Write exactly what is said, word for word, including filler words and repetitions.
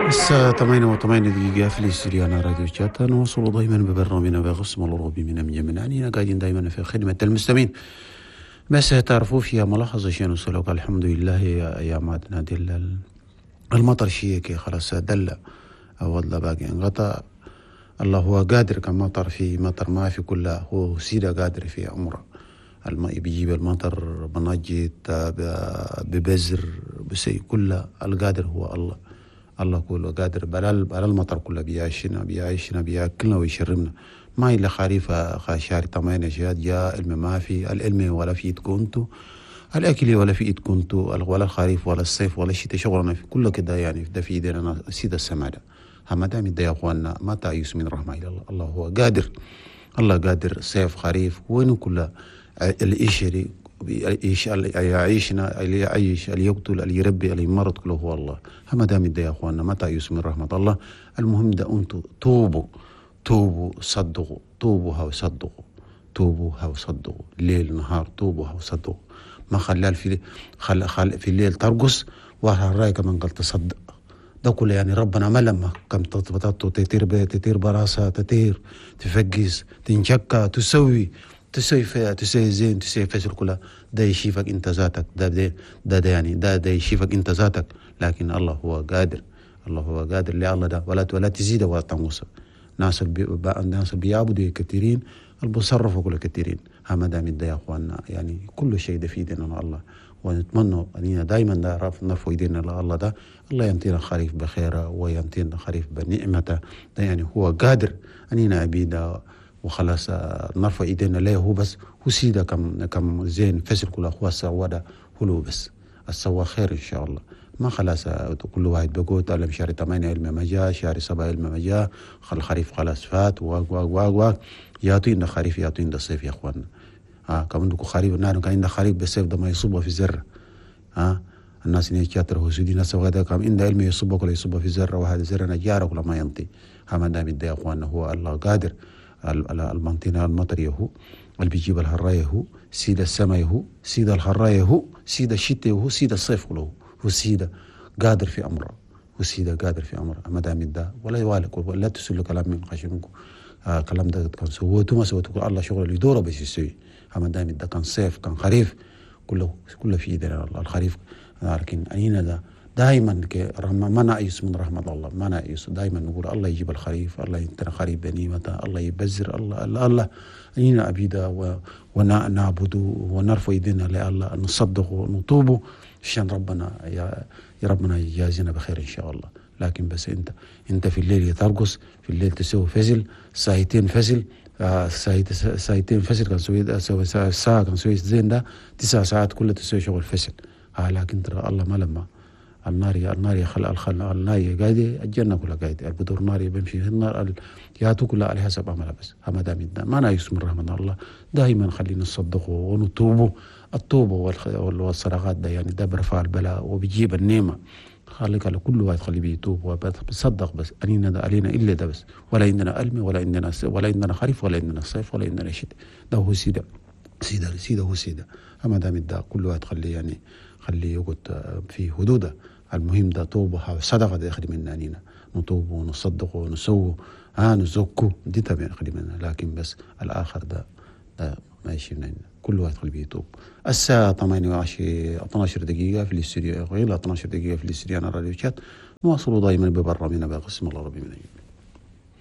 الساعة ثمانية وثمانية دقيقة في الاستوديو راديو شاتا. نواصل دائما ببرنامجنا بقسم العربي من من يعني قاعدين دائما في خدمة المستمعين. بس تعرفوا فيها ملاحظة شنو سلوك الحمد لله يا أياماتنا دل المطر شيء خلاص دل والله باقي انقطع. الله هو قادر، كان مطر في مطر ما في كلها هو سيدة قادر في أمره. الماء بيجيب المطر بنجد ببزر بسي كله القادر هو الله. الله كله قادر، بلال بلال المطر كله بيعيشنا بيعيشنا بياكلنا ويشربنا. ما إلا خريفة شهر ثمانية شهاد جاء علم ما في العلم ولا في إيدكم انتو الأكل ولا في إيدكم انتو ولا الخريف ولا الصيف ولا الشتاء شغلنا في كله كده يعني ده في إيدينا سيد السماء ده. ما دام يا إخواننا ما تأيس من رحمة إلى الله، الله هو قادر، الله قادر صيف خريف وين كله اللي يشري اللي يعيشنا اللي يعيش اللي يقتل اللي يربي اللي يمرض كله هو الله. ما دام يا إخواننا ما تأيس من رحمة الله. المهم ده أنتو توبوا توبوا صدقوا توبوا هاو صدقوا توبوا هاو صدقوا ليل نهار توبوا هاو صدقوا. ما خلال في خل خل في الليل ترقص وهالراي كمان قال تصدق ده كله يعني ربنا ما لما كم تطبطط تطير تطير براسها تطير تفقس تنشكى تسوي تسوي فيها تسوي زين تسوي فسر كلها ده يشيفك انت ذاتك ده ده ده, ده يعني ده ده يشيفك انت ذاتك. لكن الله هو قادر، الله هو قادر لله الله ده ولا ولا تزيد ولا تنقص. ناس البي... الناس بيعبدوا كثيرين اللي بيصرفوا كل كثيرين. ما دام ده يا اخواننا يعني كل شيء ده في ايدينا الله، ونتمنى اننا دائما نرفع ايدينا لله ده الله يمتينا خريف بخيره ويمتينا خريف بنعمته ده يعني هو قادر اننا عبيده وخلاص نرفع ايدينا له هو بس هو سيده كم كم زين فسر كل اخوه سوا ده هو بس السوا خير ان شاء الله. ما خلاص كل واحد بيقول تعلم شهر ثمانية علم ما جاء شهر سبعة علم ما جاء الخريف خلاص فات واق واق واق واق يعطينا خريف يعطينا الصيف يا اخواننا. ها كمان عندكم خريف نحن كان عندنا خريف بالصيف ده ما يصب في الزر. ها الناس اللي يشاتر هو سيدي ناس وغدا كم عند علم يصب ولا يصب في الزر وهذا زر نجارة ولا ما ينطي. ها ما دام يا اخواننا هو الله قادر. المنطقة المطر يهو اللي بيجيب الهراية هو سيد السماء هو سيد الهراية هو سيد الشتاء هو سيد الصيف هو هو سيدة قادر في أمره هو سيدة قادر في أمره. ما دام ده ولا يوالك ولا تسل كلام من خشمكم آه كلام ده كان سويته ما سويته الله شغل اللي يدوره بس يسوي. ما دام ده كان صيف كان خريف كله كله في ايدنا الله الخريف. لكن أنينا ده دائما ما نأيس من رحمة الله ما نأيس دائما نقول الله يجيب الخريف الله ينتنا خريف بنيمته الله يبزر الله الله الله أنينا عبيدة ونعبد ونرفع يدينا لله نصدق ونطوب عشان ربنا يا ربنا يجازينا بخير إن شاء الله. لكن بس أنت أنت في الليل ترقص في الليل تسوي فزل ساعتين فزل ساعتين فزل كان سوي سوي ساعة كان سوي زين ده تسع ساعات كلها تسوي شغل فزل. لكن ترى الله ما لما النار يا النار يا خلق الخلق النار يا قاعدة الجنة كلها قاعدة البدور نار بيمشي النار ياتو كلها على حسب عملها بس. ما دام ما نايس من رحمة الله دائما خلينا نصدقه ونتوبه. التوبة والصدقات ده يعني ده برفع البلاء وبيجيب النعمة. خليك على كل واحد خليه بيتوب وبيصدق بس علينا ده علينا إلا ده بس ولا عندنا علم ولا عندنا ولا عندنا خريف ولا عندنا صيف ولا عندنا شتاء ده هو سيدة سيدة سيدة هو سيدة. أما دام ده كل واحد خليه يعني خليه يقعد في حدوده. المهم ده توبة صدقة ده يخدم لنا نينا نتوب ونصدق ونسوي ها نزكو دي طبعا يخدم لنا. لكن بس الآخر ده ده ما يشي لنا كل واحد خليه يتوب. الساعة ثمانية وعشرين دقيقة في الاستوديو غير اثنا عشر دقيقة في الاستوديو أنا راديو شات. نواصلوا دائما ببرنامجنا بقسم الله ربي من